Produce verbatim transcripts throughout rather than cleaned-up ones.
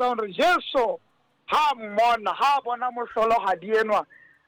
Hore Jesu ha mmona, ha bona mohlolohadi enwa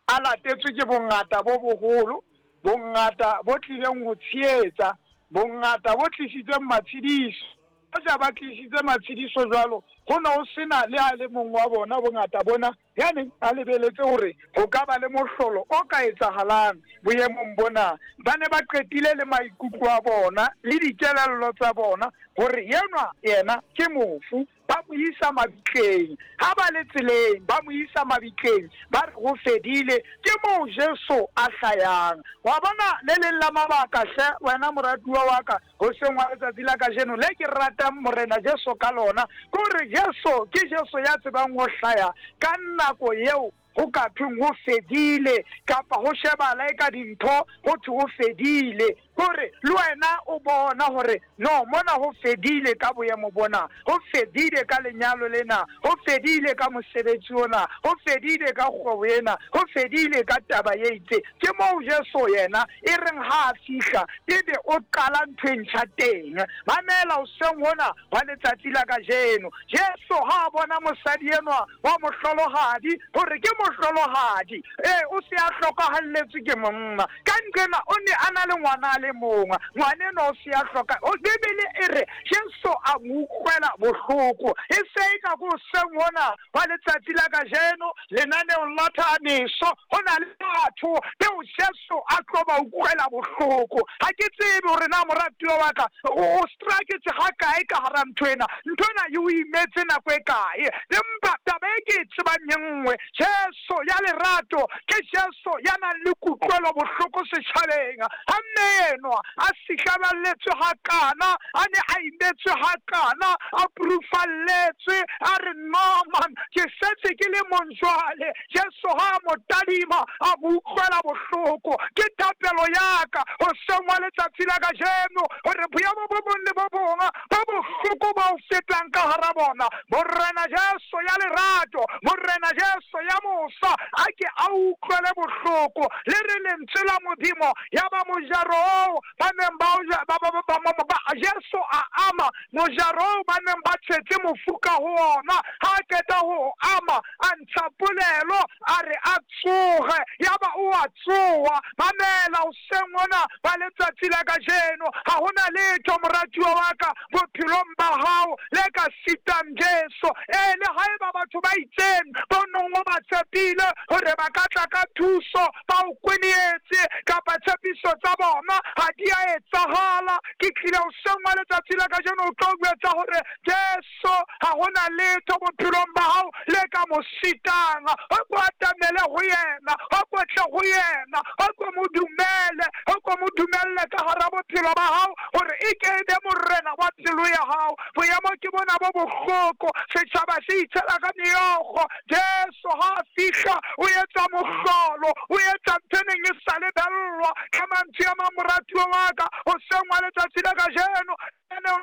a latetswe ke bongata bo boholo, bongata bo tlileng ho tshehetsa, bongata bo tlisitseng matshediso. Hoja ba tlisitse matshediso jwalo, ho ne ho sena le a le mong wa bona bongata bona ya neng a lebeletse hore ho ka ba le mohlolo o ka etsahalang boemong bona. Ba ne ba qetile le maikutlo a bona le dikelello tsa bona hore enwa yena ke mofu, ba mo isa mabitleng. Ha ba le tseleng ba mo isa mabitleng, ba re ho fedile. Ke moo Jesu a hlayang. Wa bona le leng la mabaka hle wena moratuwa wa ka hoseng wa letsatsi la kajeno le ke ratang Morena Jesu ka lona, ke hore Jesu ke Jesu ya tsebang ho hlaya ka nako eo ho ka thweng ho fedile, kapa ho shebala e ka dintho ho thwe ho fedile. Hore le wena o bona hore no, mona ho fedile ka boemo bona, ho fedile ka lenyalo lena, ho fedile ka mosebetsi ona, ho fedile ka kgwebo ena, ho fedile ka taba e itse. Ke moo Jesu yena e reng ha a fihla ebe o qala ntho e ntjha teng. Mamela hoseng hona wa letsatsi la kajeno, Jesu ha a bona mosadi enwa wa mohlolohadi, hore ke mohlolohadi, ee, o se a hlokahalletswe ke monna. Ka nqena o ne a na le ngwana a le mong, ngwana enwa o se a hloka. Bibele e re Jesu a mo utlwela bohloko. E se e ka ko hoseng hona wa letsatsi la kajeno lenaneong la Thabiso ho na le batho beo Jesu a tlo ba utlwela bohloko. Ha ke tsebe hore na moratuwa wa ka o straketse ha kae ka hara ntho ena, ntho ena e o imetse nako e kae, empa taba e ke e tsebang e nngwe, Jesu ya lerato ke Jesu ya nang le kutlwelo bohloko setjhabeng. Ha mme enwa a sihlaballetswe hakana, a ne a imetswe hakana, a purufalletswe, a re no man, ke setse ke le mong jwale. Jesu ha a mo tadima a mo utlwela bohloko. Ke thapelo ya ka hoseng wa letsatsi la kajeno hore boemo bo bong le bo bong bo bohloko ba o fetang ka hara bona, Morena Jesu ya lerato, Morena Jesu ya mosa, a ke a utlwele bohloko. Le re lentswe la Modimo ya ba mojaro oo ba neng ba ba ba ba Jesu a ama mojaro oo ba neng ba tshwetse mofu ka ho ona. Ha a qeta ho ama, a ntsha polelo, a re a tsoge, ya ba o a tsoha. Mamela hoseng hona ba letsatsi la kajeno, ha hona letho moratuwa wa ka bophelong ba hao le ka sitang Jesu. Ee, le haeba batho ba itseng ba nong o ba tshepile hore ba ka tla ka thuso, ba o kwenyetse, kapa tshepiso tsa bona ha di a etsahala, ke tlile hoseng wa letsatsi la kajeno o tlo jwetsa hore Jesu ha hona letho bophelong ba hao le ka mo sitang. O ko atamele ho yena, o ko tle ho yena, o ko mo dumele, o ko mo dumelle ka hara bophelo ba hao hore e ke e be morena wa pelo ya hao. Boemo ke bona bo bohloko, setjhaba se itshela ka meokgo. Jesu ha a fihla o etsa mohlolo, o etsa ntho e neng e sa lebellwa. Ka mantswe a mang, moratuwa wa ka, hoseng wa letsatsi la kajeno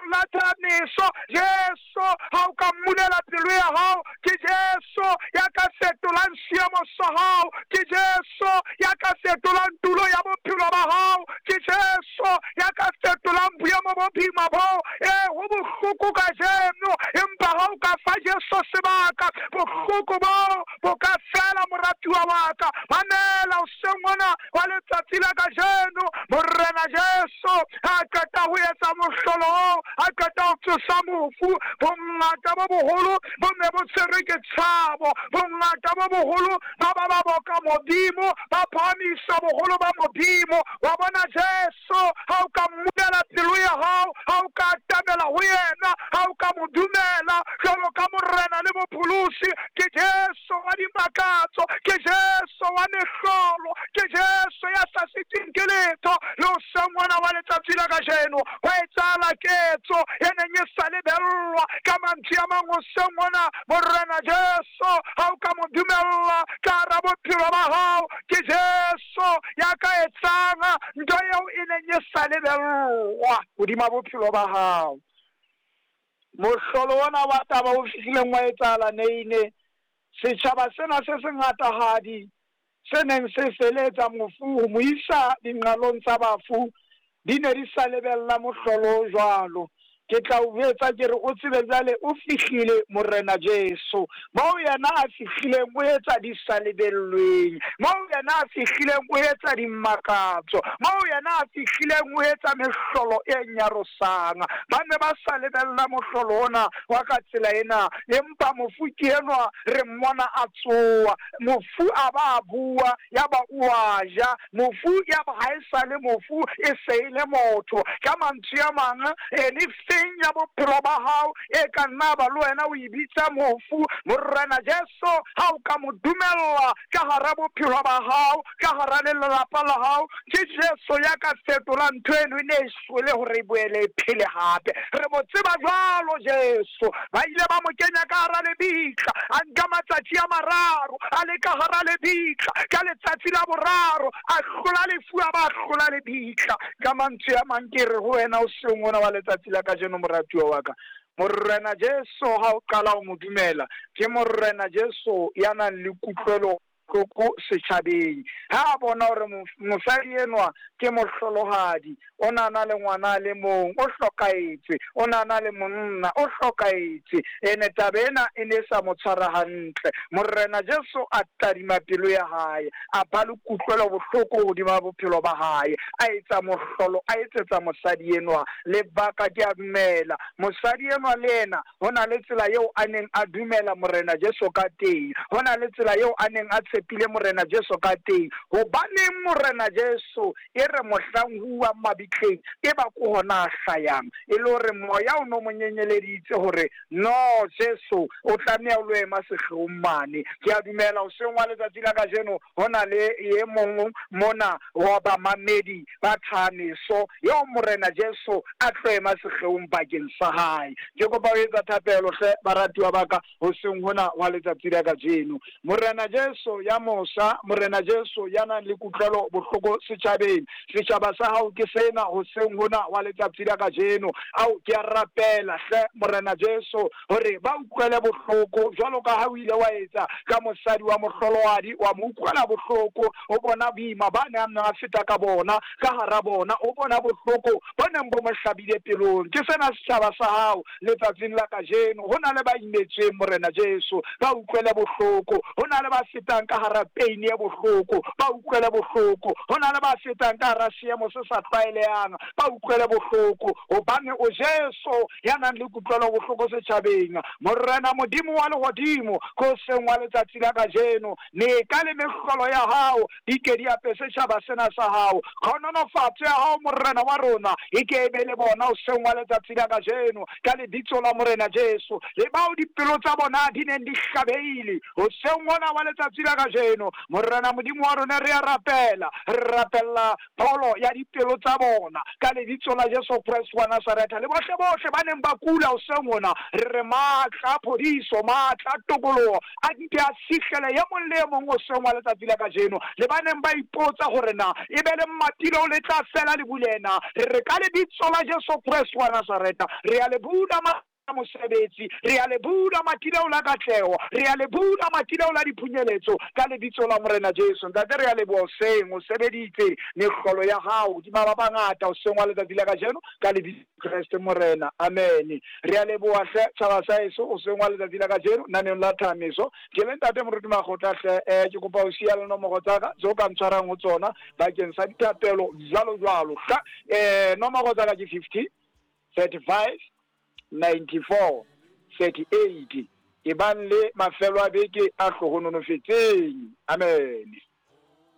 la Thabiso, Jesu ha o ka mmulela pelo ya hao, ke Jesu ya ka fetolang seemo sa hao, ke Jesu ya ka fetolang tulo ya bophelo ba hao, ke Jesu ya ka fetolang boemo bo boima bo. Ee, ho bohloko kajeno, empa ha o ka fa Jesu sebaka, bohloko bo bo ka fela moratuwa wa ka. Mamela hoseng hona wa letsatsi la kajeno, Morena Jesu ha qeta ho etsa mohlolo, a qeta ho tsosa mofu, bongata bo boholo bo ne bo tshwerwe ke tshabo, bongata bo boholo ba ba ba boka Modimo, ba phahamisa boholo ba Modimo. Wa bona Jesu ha o ka mmulela pelo ya hao, ha o ka atamela ho yena, ha o ka mo dumela jwalo ka Morena le Mopholosi, ke Jesu wa dimakatso, ke Jesu wa mehlolo, ke Jesu ya sa siteng ke letho. Le hoseng hona wa letsatsi la kajeno ho etsahala ketso e neng e sa lebellwa. Ka mantswe a mang, hoseng hona Morena Jesu ha o ka mo dumella ka hara bophelo ba hao, ke Jesu ya ka etsang ntho eo e neng e sa lebellwa hodima bophelo ba hao. Mohlolo ona wa taba o fihlileng wa etsahala Neine, setjhaba sena se sengatahadi se neng se feletsa mofu ho mo isa dinqalong tsa bafu, di ne di sa lebella mohlolo jwalo. Ke tla o jwetsa ke re o tsebe jwale o fihlile Morena Jesu. Moo yena a fihlileng o etsa di sa lebellweng. Moo yena a fihlileng o etsa dimakatso. Moo yena a fihlileng o etsa mehlolo e nyarosang. Ba ne ba sa lebella mohlolo ona wa ka tsela ena, empa mofu ke enwa re mmona a tsoa. Mofu a ba a bua, ya ba o a ja. Mofu ya ba ha e sa le mofu, e se e le motho. Ka mantswe a mang, anything ya bophelo ba hao e ka nna ba le wena o e bitsa mofu, Morena Jesu ha o ka mo dumella ka hara bophelo ba hao, ka hara lelapa la hao, ke Jesu ya ka fetolang ntho eno e ne e shwele hore e boele e phele hape. Re mo tseba jwalo Jesu. Ba ile ba mo kenya ka hara lebitla, a nka matsatsi a mararo a le ka hara lebitla. Ka letsatsi la boraro a hlola lefu, a ba hlola lebitla. Ka mantswe a mang ke re ho wena o seng ona wa letsatsi la kajeno, moratuwa wa ka, Morena Jesu ha o qala ho mo dumela, ke Morena Jesu ya nang le kutlwelo bohloko setjhabeng. Ha a bona hore mosadi enwa ke mohlolohadi, o na na le ngwana a le mong, o hlokahetse, o na na le monna, o hlokahetse, ene taba ena e ne e sa mo tshwara hantle. Morena Jesu a tadima pelo ya hae, a ba le kutlwelo bohloko hodima bophelo ba hae, a etsa mohlolo, a etsetsa mosadi enwa. Lebaka ke a dumela mosadi enwa le yena ho na le tsela eo a neng a dumela Morena Jesu ka teng, ho na le tsela eo a neng a tshepile Morena Jesu ka teng. Hobaneng Morena Jesu e re mohlang huwang mabitleng e ba ko hona a hlayang, e le hore moya o no mo nyenyeleditse hore no Jesu o tlameha o lo ema sehleong mane. Ke a dumela hoseng wa letsatsi la kajeno ho na le e mong mona wa bamamedi ba thameso eo Morena Jesu a tlo ema sehleong bakeng sa hae. Ke kopa ho etsa thapelo hle baratuwa ba ka hoseng hona wa letsatsi la kajeno. Morena Jesu ya mosa, Morena Jesu ya nang le kutlwelo bohloko setjhabeng, setjhaba sa hao ke sena hoseng hona wa letsatsi la kajeno. Ao ke a rapela hle Morena Jesu hore ba utlwele bohloko jwalo ka ha o ile wa etsa ka mosadi wa mohlolohadi, wa mo utlwela bohloko, o bona boima ba neng a feta ka bona ka hara bona, o bona bohloko bo neng bo mo hlabile pelong. Ke sena setjhaba sa hao letsatsing la kajeno. Ho na le ba imetsweng Morena Jesu, ba utlwele bohloko. Ho na le ba fetang ka hara pain e bohloko, ba utlwele bohloko. Ho na le ba fetang ka hara seemo se sa tlwaelehang, ba utlwele bohloko. Hobane o Jesu ya nang le kutlwelo bohloko setjhabeng. Morena Modimo wa lehodimo, ko seng wa letsatsi la kajeno, meka le mehlolo ya hao di ke di ape setjhaba sena sa hao. Tlhonolofatso ya hao Morena wa rona e ke e be le bona hoseng wa letsatsi la kajeno, ka lebitso la Morena Jesu. Le bao dipelo tsa bona di neng di hlabehile hoseng ona wa letsatsi la kajeno, Morena Modimo wa rona re a rapela, re rapella pholo ya dipelo tsa bona ka lebitso la Jesu Kreste wa Nazaretha. Le bohle bohle ba neng ba kula hoseng hona, re re matla a phodiso, matla a tokoloho a nke a fihlele e mong le e mong hoseng wa letsatsi la kajeno. Le ba neng ba ipotsa hore na e be le mmatilo le tla fela le bulena, re re ka lebitso la Jesu Kreste wa Nazaretha re a le bula mosebetsi, re a le bula matileo la katleho, re a le bula matileo la diphunyeletso ka lebitso la Morena Jesu. Ntate, re a leboha hoseng, o sebeditse mehlolo ya hao hodima ba bangata hoseng wa letsatsi la kajeno ka lebitso Kreste Morena, amen. Re a leboha hle tjhaba sa heso hoseng wa letsatsi la kajeno naneong la thameso. Ke le ntate Moruti Makgotla hle, eh, ke kopa ho siya le nomoro tsa ka tseo ka ntshwarang ho tsona bakeng sa dithapelo jwalo jwalo. Hla, eh, nomoro tsa ka ke fifty, thirty-five, ninety-four, thirty-eight. E bang le mafelo a beke a hlohonolofetseng. Amen.